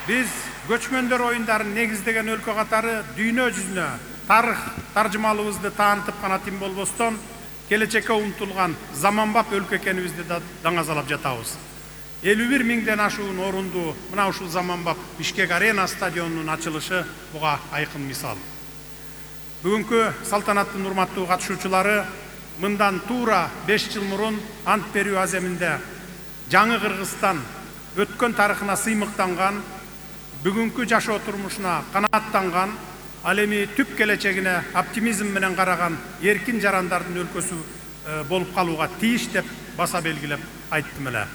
Биз көчмөндөр оюндарын негиздеген өлкө катары дүйнө жүзүнө тарых таржымалыбызды таанытып гана тим болбостон, келечекке умтулган заманбап өлкө экенибизди да даңазалап жатабыз. 51 миңден ашуун орунду мына ушул заманбап Бишкек Арена стадионунун ачылышы буга айкын мисал. Бүгүнкү салтанаттын урматтуу катышуучулары мындан туура 5 жыл мурун ант берүү аземинде жаңы Кыргызстан өткөн тарыхына сыймыктанган, бүгүнкү жашоо турмушуна канааттанган, ал эми түп келечегине оптимизм менен караган эркин жарандардын өлкөсү болуп калууга тийиш деп баса белгилеп айттым эле.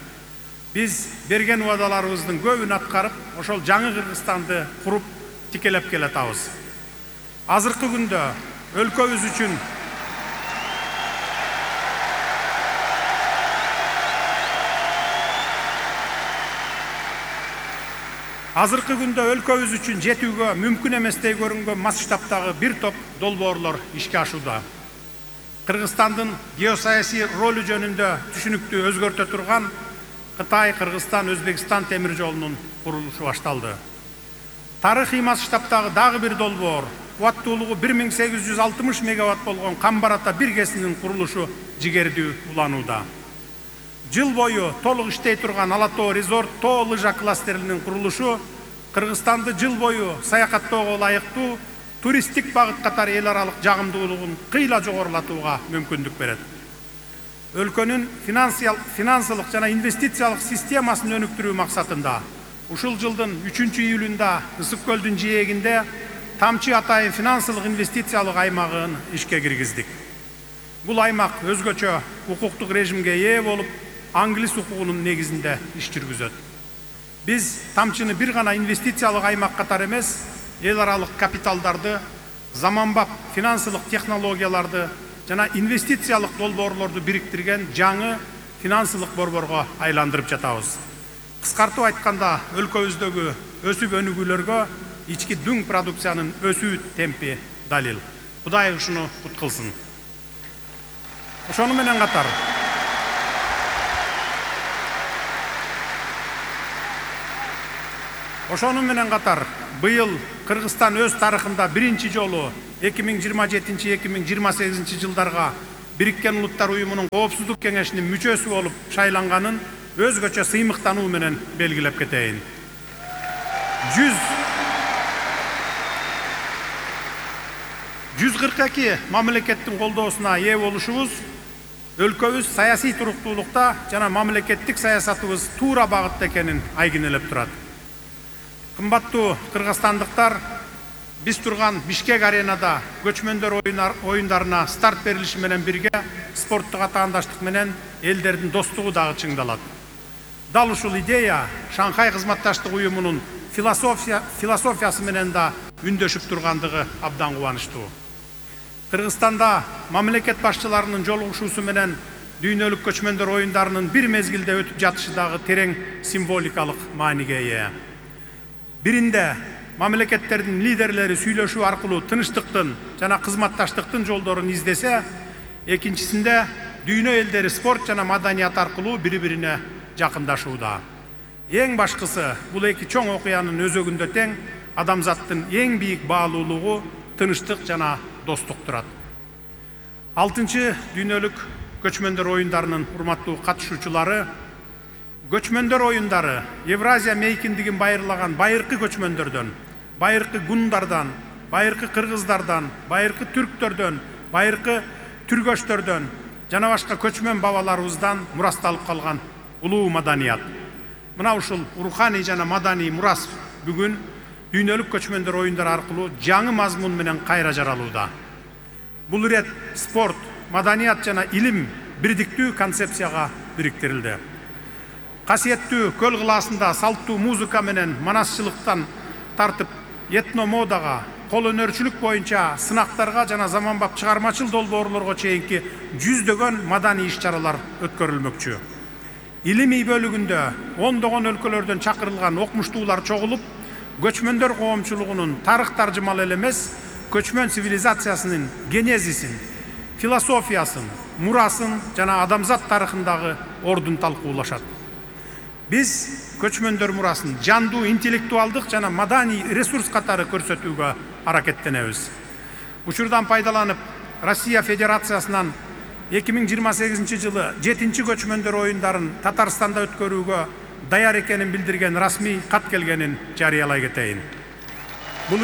Биз берген убадаларыбыздын көбүн аткарып, ошол жаңы Кыргызстанды куруп тикелеп келатабыз. Азыркы күндө өлкөбүз үчүн жетүүгө мүмкүн эместей көрүнгөн масштабтагы бир топ долбоорлор ишке ашууда. Кыргызстандын геосаясий ролу жөнүндө түшүнүктү өзгөртө турган Кытай-Кыргызстан-Өзбекстан темир жолунун курулушу башталды. Тарыхый масштабтагы дагы бир долбоор, кубаттуулугу 1860 мегаватт болгон Камбар-Ата биргесинин курулушу жигердүү уланууда. Жыл бою толук иштей турган Ала-Тоо резорт тоо лыжа кластеринин курулушу Кыргызстанды жыл бою саякаттоого ылайыктуу туристтик багыт катары эл аралык жагымдуулугун кыйла жогорулатууга мүмкүндүк берет. Өлкөнүн финансылык жана инвестициялык системасын өнүктүрүү максатында ушул жылдын 3-июлунда Ысык көлдүн жээгинде Тамчы атайын финансылык инвестициялык аймагын ишке киргиздик. Бул аймак өзгөчө укуктук режимге ээ болуп, англис укугунун негизинде иш жүргүзөт. Биз Тамчыны бир гана инвестициялык аймак катары эмес, эл аралык капиталдарды, заманбап финансылык технологияларды жана инвестициялык долбоорлорду бириктирген жаңы финансылык борборго айландырып жатабыз. Кыскартып айтканда, өлкөбүздөгү өсүп өнүгүүлөргө ички дүң продукциянын өсүү темпи далил. Кудай ушуну кут кылсын. Ошону менен катар быйыл Кыргызстан өз тарыхында биринчи жолу 2027-2028 жылдарга Бириккен Улуттар Уюмунун Коопсуздук кеңешинин мүчөсү болуп шайланганын өзгөчө сыймыктануу менен белгилеп кетейин. 142 мамлекеттин колдоосуна ээ болушубуз өлкөбүз саясий туруктуулукта жана мамлекеттик саясатыбыз туура багытта экенин айгинелеп турат. Кымбаттуу кыргызстандыктар, биз турган Бишкек Аренада көчмөндөр оюндарына старт берилиши менен бирге спорттук атаандаштык менен элдердин достугу дагы чыңдалат. Дал ушул идея Шанхай кызматташтык уюмунун философиясы менен да үндөшүп тургандыгы абдан кубанычтуу. Кыргызстанда мамлекет башчыларынын жолугушуусу менен дүйнөлүк көчмөндөр оюндарынын бир мезгилде өтүп жатышы дагы терең символикалык мааниге ээ. Биринде мамлекеттердин лидерлери сүйлөшүү аркылуу тынчтыктын жана кызматташтыктын жолдорун издесе, экинчисинде дүйнө элдери спорт жана маданият аркылуу бири-бирине жакындашууда. Эң башкысы, бул эки чоң окуянын өзөгүндө тең адамзаттын эң бийик баалуулугу тынчтык жана достук турат. 6-чы дүйнөлүк көчмөндөр оюндарынын урматтуу катышуучулары, көчмөндөр оюндары Евразия мейкиндигин байырлаган байыркы көчмөндөрдөн, байыркы гундардан, байыркы кыргыздардан, байыркы түрктөрдөн, байыркы түргөчтөрдөн жана башка көчмөн бабаларыбыздан мурасталып калган улуу маданият. Мына ушул руханий жана маданий мурас бүгүн дүйнөлүк көчмөндөр оюндары аркылуу жаңы мазмун менен кайра жаралууда. Бул ирет спорт, маданият жана илим бирдиктүү концепцияга бириктирилди. Касиеттүү көл кылаасында салттуу музыка менен манасчылыктан тартып этно модага, кол өнөрчүлүк боюнча сынактарга жана заманбап чыгармачыл долбоорлорго чейинки жүздөгөн маданий иш-чаралар өткөрүлмөкчү. Илимий бөлүгүндө ондогон өлкөлөрдөн чакырылган окумуштуулар чогулуп, көчмөндөр коомчулугунун тарых таржымалы эле эмес, көчмөн цивилизациясынын генезисин, философиясын, мурасын жана адамзат тарыхындагы ордун талкуулашат. Биз көчмөндөр мурасын жандуу интеллектуалдык жана маданий ресурс катары көрсөтүүгө аракеттенебиз. Учурдан пайдаланып, Россия Федерациясынан 2028 жылы 7-чи көчмөндөр оюндарын Татарстанда өткөрүүгө даяр экенин билдирген расмий кат келгенин жарыялай кетейин. Бул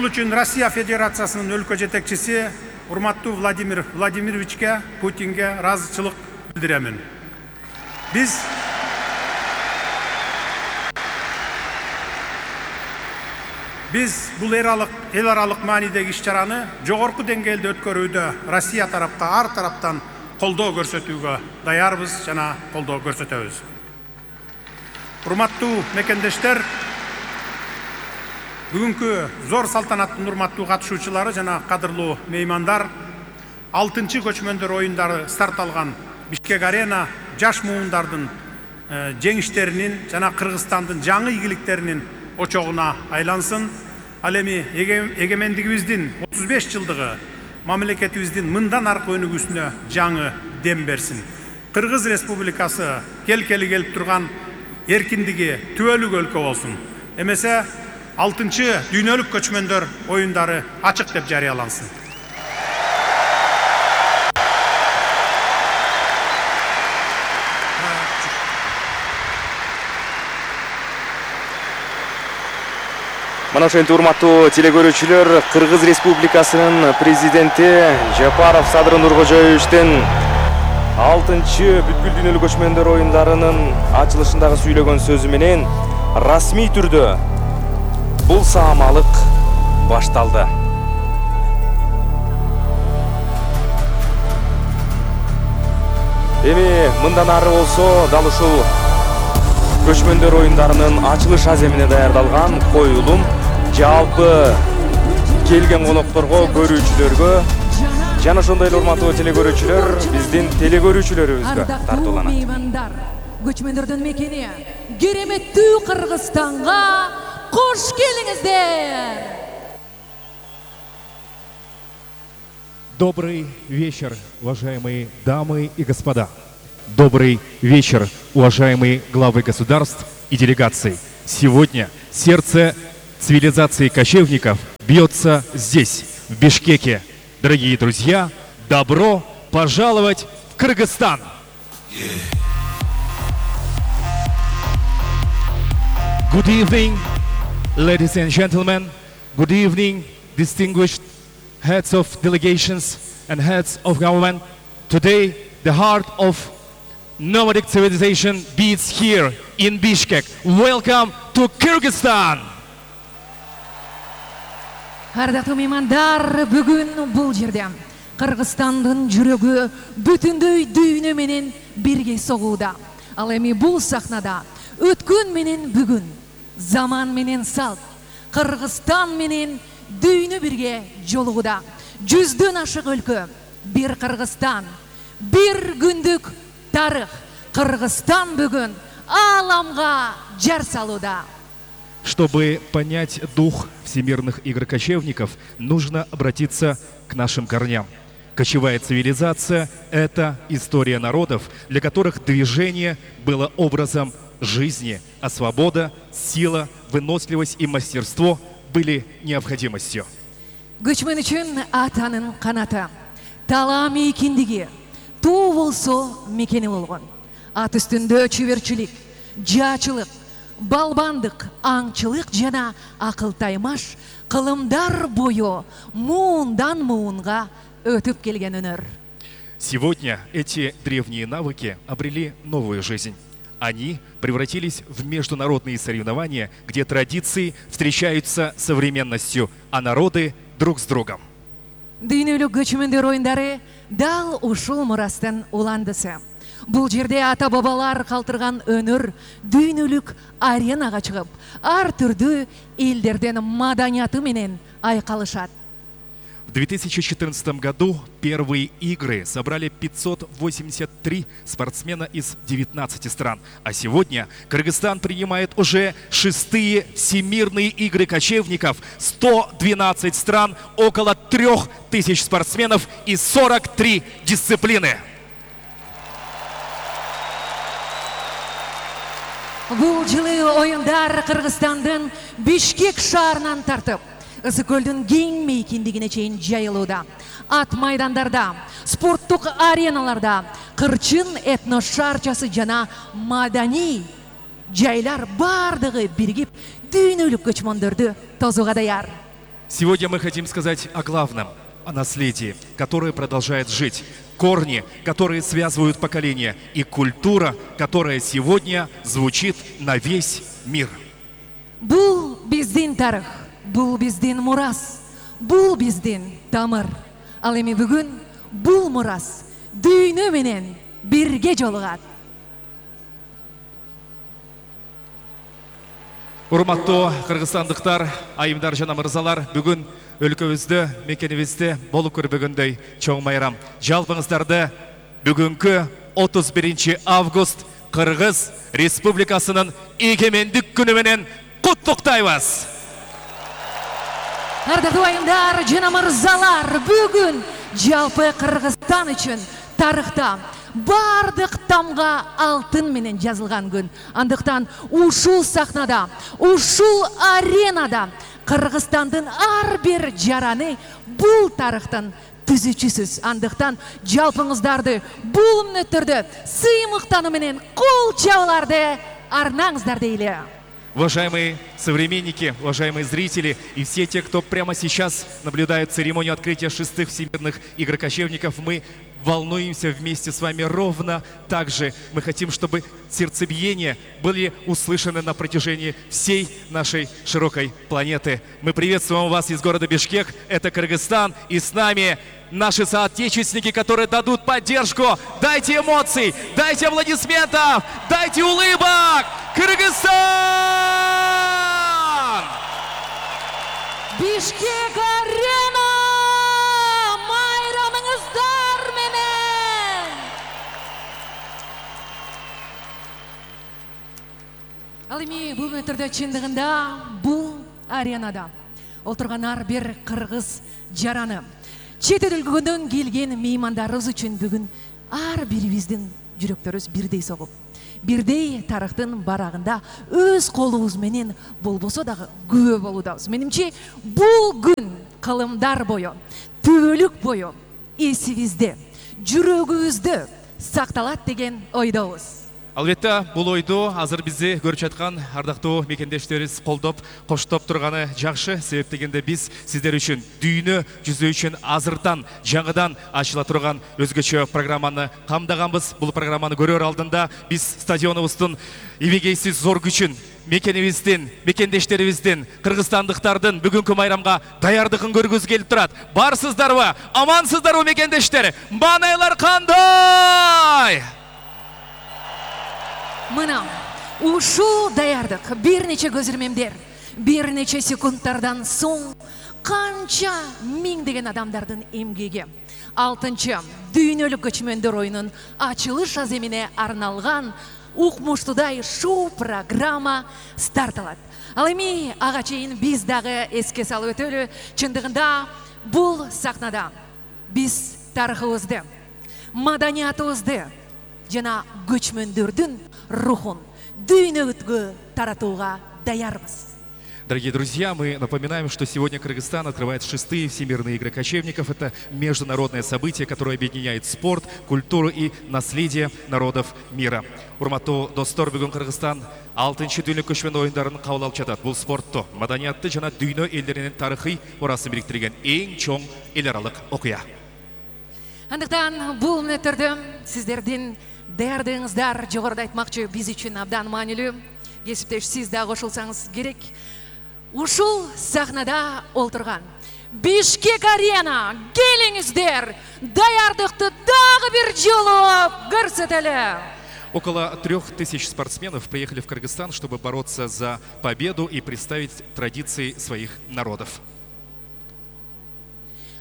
үчүн Россия Федерациясынын өлкө жетекчиси урматтуу Владимир Владимировичке, Путинге ыраазычылык билдиремин. Биз бул эл аралык маанидеги иш-чараны жогорку деңгээлде өткөрүүдө Россия тарапка ар тараптан колдоо көрсөтүүгө даярбыз жана колдоо көрсөтөбүз. Урматтуу мекендештер, бүгүнкү зор салтанаттын урматтуу катышуучулары жана кадырлуу меймандар, 6-чы көчмөндөр оюндары старт алган Бишкек арена жаш муундардын жеңиштеринин жана Кыргызстандын жаңы ийгиликтеринин очогуна айлансын. Ал эми эгемендигибиздин 35 жылдыгы мамлекетибиздин мындан аркы өнүгүүсүнө жаңы дем берсин. Кыргыз Республикасы келкели келип турган эркиндиги түбөлүк өлкө болсун. Эмесе 6-чы дүйнөлүк көчмөндөр оюндары ачык деп жарыялансын. Мына ошентип урматтуу телекөрүүчүлөр, Кыргыз Республикасынын президенти Жапаров Садыр Нуркожоевичтин 6-чы бүткүл дүйнөлүк көчмөндөр оюндарынын ачылышындагы сүйлөгөн сөзү менен расмий түрдө бул саамалык башталды. Эми мындан ары болсо дал ушул көчмөндөр оюндарынын ачылыш аземине даярдалган коюлум жалпы келген конокторго, көрүүчүлөргө жана ошондой эле урматтуу телекөрүүчүлөр, биздин телекөрүүчүлөрүбүзгө тартууланат. Көчмөндөрдүн мекени кереметтүү Кыргызстанга кош келиңиздер. Добрый вечер, уважаемые дамы и господа. Добрый вечер, уважаемые главы государств и делегаций. Сегодня сердце цивилизации кочевников бьется здесь, в Бишкеке. Дорогие друзья, добро пожаловать в Кыргызстан! Good evening, ladies and gentlemen. Good evening, distinguished heads of delegations and heads of government. Today, the heart of nomadic civilization beats here in Bishkek. Welcome to Kyrgyzstan! Ардактуу меймандар, бүгүн бул жерде Кыргызстандын жүрөгү бүтүндөй дүйнө менен бирге согууда. Ал эми бул сахнада өткөн менен бүгүн, заман менен салт, Кыргызстан менен дүйнө бирге жолугуда. Жүздөн ашык өлкө, бир Кыргызстан, бир күндүк тарых. Кыргызстан бүгүн аламга жар салууда. Чтобы понять дух всемирных игр кочевников, нужно обратиться к нашим корням. Кочевая цивилизация – это история народов, для которых движение было образом жизни, а свобода, сила, выносливость и мастерство были необходимостью. Көчмөн үчүн атанын канаты, талаа мейкиндиги, туу болсо мекени болгон. Ат үстүндө чүбөрчүлүк, жаачылык, балбандык, аңчылык жана акыл таймаш кылымдар бою муундан муунга өтүп келген өнөр. Сегодня эти древние навыки обрели новую жизнь. Они превратились в международные соревнования, где традиции встречаются с современностью, а народы друг с другом. Дүйнөлүк көчмөндөр оюндары дал ушул мурастын уландысы. Бул жерде ата-бабалар калтырган өнөр дүйнөлүк аренага чыгып, ар түрдүү элдердин маданияты менен айкалышат. В 2014 году первые игры собрали 583 спортсмена из 19 стран. А сегодня Кыргызстан принимает уже 6-е всемирные игры кочевников. 112 стран, около 3000 спортсменов и 43 дисциплины. Бул жылы оюндар Кыргызстандын Бишкек шаарынан тартып, Ысык көлдүн кең мейкиндигине чейин жайылууда. Ат майдандарда, спорттук ареналарда, кырчын этно шаарчасы жана маданий жайлар бардыгы биригип, дүйнөлүк көчмөндөрдү тосууга даяр. Сегодня мы хотим сказать о главном, о наследии, которое продолжает жить. Корни, которые связывают поколения, и культура, которая сегодня звучит на весь мир. Бул биздин тарых, бул биздин мурас, бул биздин тамыр. Ал эми бүгүн бул мурас дүйнө менен бирге жолугат. Урматтуу кыргызстандыктар, айымдар жана мырзалар, бүгүн өлкөбүздө, мекенибизде болуп көрбөгөндөй чоң майрам. Жалпыңыздарды бүгүнкү 31 август Кыргыз Республикасынын эгемендик күнү менен куттуктайбыз. Ардактуу айымдар жана мырзалар, бүгүн жалпы Кыргызстан үчүн тарыхта бардык тамга алтын менен жазылган күн. Андыктан ушул сахнада, ушул аренада Кыргызстандын ар бир жараны бул тарыхтын түзүүчүсүз. Андыктан жалпыңыздарды бул мүнөттөрдө сыймыктануу менен кол чабууларды арнаңыздар дейли. Уважаемые современники, уважаемые зрители и все те, кто прямо сейчас наблюдает церемонию открытия 6-х всемирных игр кочевников, мы волнуемся вместе с вами ровно так же. Мы хотим, чтобы сердцебиения были услышаны на протяжении всей нашей широкой планеты. Мы приветствуем вас из города Бишкек, это Кыргызстан, и с нами наши соотечественники, которые дадут поддержку. Дайте эмоций, дайте аплодисментов, дайте улыбок! Кыргызстан! Бишкек арена! Майрамыңыздар менен! Ал эми бул мүнөттөрдө чындыгында бул аренада отурган ар бир кыргыз жараны чет өлкөдөн келген меймандарыбыз үчүн бүгүн ар бирибиздин жүрөктөрүбүз бирдей согуп, бирдей тарыхтын барагында өз колубуз менен болбосо дагы күбө болуудабыз. Менимче, бул күн кылымдар бою, түбөлүк бою эсибизде, жүрөгүбүздө сакталат деген ойдобуз. Албетте, бул ойду азыр бизди көрүп жаткан ардактуу мекендештерибиз колдоп, коштоп турганы жакшы. Себеп дегенде биз сиздер үчүн дүйнө жүзү үчүн азыртан, жаңыдан ачыла турган өзгөчө программаны камдаганбыз. Бул программаны көрөр алдында биз стадионубуздун эбегейсиз зор күчүн, мекенибиздин, мекендештерибиздин, кыргызстандыктардын бүгүнкү майрамга даярдыгын көргүз келип турат. Барсыздарбы? Амансыздарбы мекендештер? Маанайлар кандай? Мына, ушул даярдык бир нече көзүрмемдер, бир нече секундтардан соң канча миңдеген адамдардын эмгеги 6-чы дүйнөлүк көчмөндөр оюнунун ачылыш аземине арналган укмуштуудай шоу программа старт алат. Ал эми ага чейин биз дагы эске салып өтөлү. Чындыгында бул сахнада биз тарыхыбызды, маданиятыбызды жана көчмөндөрдүн рухун дүйнөгө таратууга даярбыз. Дорогие друзья, мы напоминаем, что сегодня Кыргызстан открывает 6-е всемирные игры кочевников. Это международное событие, которое объединяет спорт, культуру и наследие народов мира. Урматтуу достор, бүгүн Кыргызстан 6-чы дүйнөлүк көчмөн оюндарын кабыл алып жатат. Бул спортту, маданиятты жана дүйнө элдеринин тарыхый мурасын бириктирген эң чоң эл аралык окуя. Андыктан бул мүнөттөрдө сиздердин даярдыгыңыздар жогоруда айтмакчы биз үчүн абдан маанилүү. Кесиптеш, сиз да кошулсаңыз керек. Ушул сахнада олтурган Бишкек арена, келиңиздер, даярдыкты дагы бир жолу көрсөтөлү. Около 3000 спортсменов приехали в Кыргызстан, чтобы бороться за победу и представить традиции своих народов.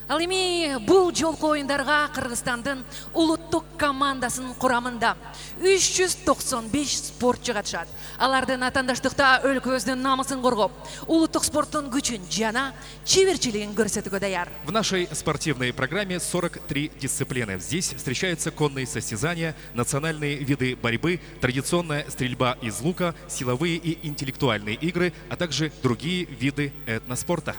Ал эми бул жолку оюндарга Кыргызстандын улуттук командасын курамында 395 спортчу катышат. Алардын атандаштыкта өлкөбүздүн намысын коргоп, улуттук спорттун күчүн жана чеберчилигин көрсөтүүгө даяр. В нашей спортивной программе 43 дисциплины. Здесь встречаются конные состязания, национальные виды борьбы, традиционная стрельба из лука, силовые и интеллектуальные игры, а также другие виды этноспорта.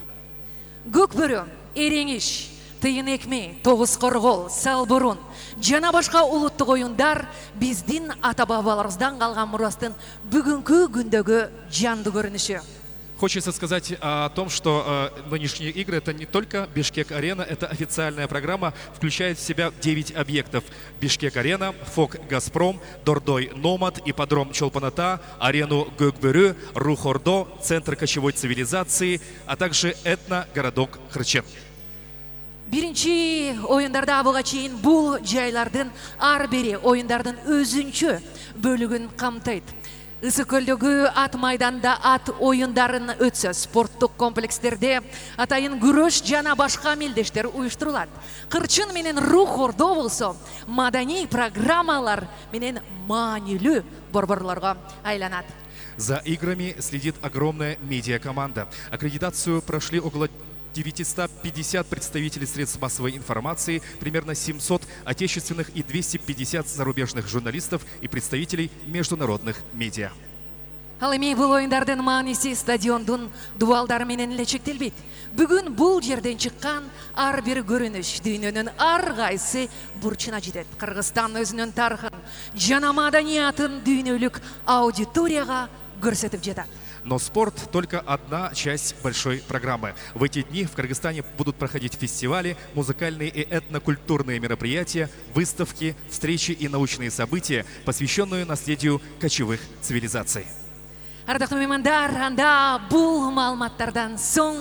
Көкбөрү, эреңиш, тыйын экме, тогуз коргол, салбурун жана башка улуттук оюндар биздин ата-бабаларыбыздан калган мурастын бүгүнкү күндөгү жандуу көрүнүшү. Хочется сказать о том, что нынешние игры — это не только Бишкек-арена, это официальная программа, включает в себя 9 объектов. Бишкек-арена, ФОК «Газпром», Дордой «Номад», ипподром Чолпан-Ата, арену Көкбөрү, Рух-Ордо, центр кочевой цивилизации, а также этногородок Хрычен. Биринчи оюндарда буга чейин бул жайлардын ар бири оюндардын өзүнчө бөлүгүн камтыйт. Ысык көлдөгү ат майданда ат оюндарын өтсө, спорттук комплекстерде атайын күрөш жана башка мелдештер уюштурулат. Кырчын менен Рух-Ордо болсо, маданий программалар менен маанилүү борборлорго айланат. За играми следит огромная медиакоманда. Аккредитацию прошли около 950 представителей средств массовой информации, примерно 700 отечественных и 250 зарубежных журналистов и представителей международных медиа. Ал эми бул оюндардын мааниси стадиондун дубалдары менен эле чектелбейт. Бүгүн бул жерден чыккан ар бир көрүнүш дүйнөнүн ар кайсы бурчуна жетет. Кыргызстан өзүнүн тарыхын жана маданиятын дүйнөлүк аудиторияга көрсөтүп жатат. Но спорт — только одна часть большой программы. В эти дни в Кыргызстане будут проходить фестивали, музыкальные и этнокультурные мероприятия, выставки, встречи и научные события, посвященные наследию кочевых цивилизаций. Ардактуу меймандар, анда бул маалыматтардан соң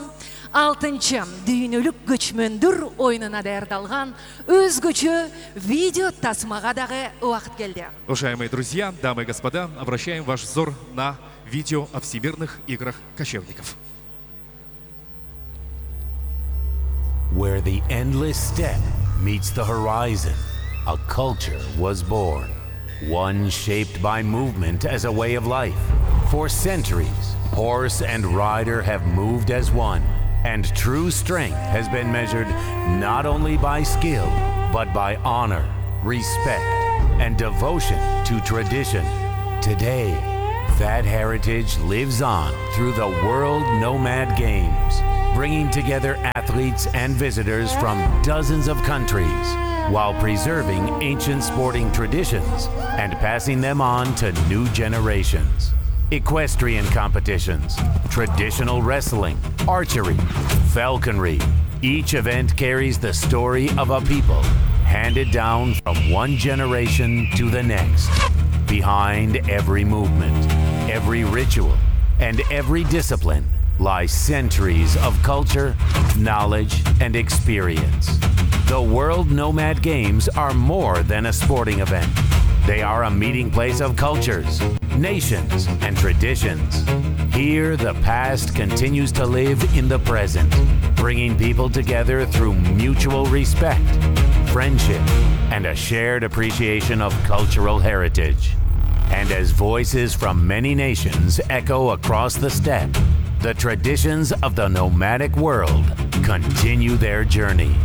6-чы дүйнөлүк көчмөндөр оюнуна даярдалган өзгөчө видео тасмага дагы убакыт келди. Уважаемые друзья, дамы и господа, обращаем ваш взор на видео о Всемирных играх кочевников. Where the endless steppe meets the horizon, a culture was born. One shaped by movement as a way of life. For centuries, horse and rider have moved as one, and true strength has been measured not only by skill, but by honor, respect, and devotion to tradition. Today, that heritage lives on through the World Nomad Games, bringing together athletes and visitors from dozens of countries, while preserving ancient sporting traditions and passing them on to new generations. Equestrian competitions, traditional wrestling, archery, falconry. Each event carries the story of a people, handed down from one generation to the next. Behind every movement, every ritual, and every discipline lies centuries of culture, knowledge, and experience. The World Nomad Games are more than a sporting event. They are a meeting place of cultures, nations, and traditions. Here, the past continues to live in the present, bringing people together through mutual respect, friendship, and a shared appreciation of cultural heritage. And as voices from many nations echo across the steppe, the traditions of the nomadic world continue their journey.